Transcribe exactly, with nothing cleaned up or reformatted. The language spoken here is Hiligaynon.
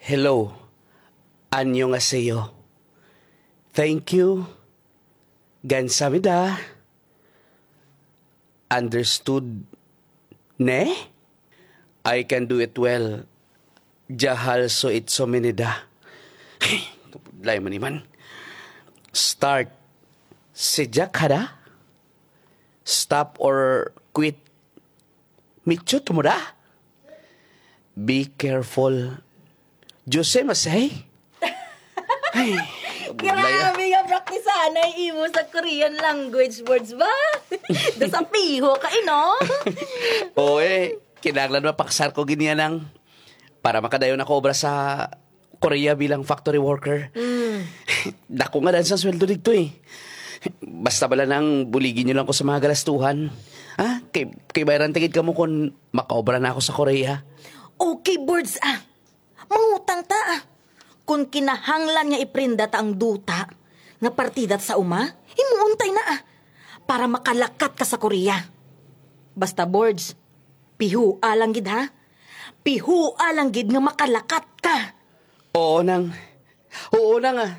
Hello. 안녕하세요. Thank you. 감사합니다. Understood. Ne? I can do it well. Jahal so itso minida. Kapudlay man iman. Start. Sejak hada? Stop or quit? Michot mo da? Be careful. Jose Masay? Ay, kabudlay, ah. Grabe nga praktisahan na imo sa Korean language words ba? Desafiho ka, eh, no? Oo, eh. Kinahanglan mapaksar ko gid niya nang para makadayon ako obra sa Korea bilang factory worker. Dako nga dan sang sweldo didto, eh. Basta bala nang buligi nyo lang ko sa mga galastuhan. Ah, kay, kay bayran ta gid kamo kon makaobra na ako sa Korea. Okay, Bords, ah. Mangutang ta, ah. Kung kinahanglan nga iprenda ta ang duta nga partida sa uma, himuon tay na, ah, para makalakat ka sa Korea. Basta, Bords, pihua lang gid, ha? Pihua lang gid nga makalakat ka. Oo, nang. Oo, nang, ah.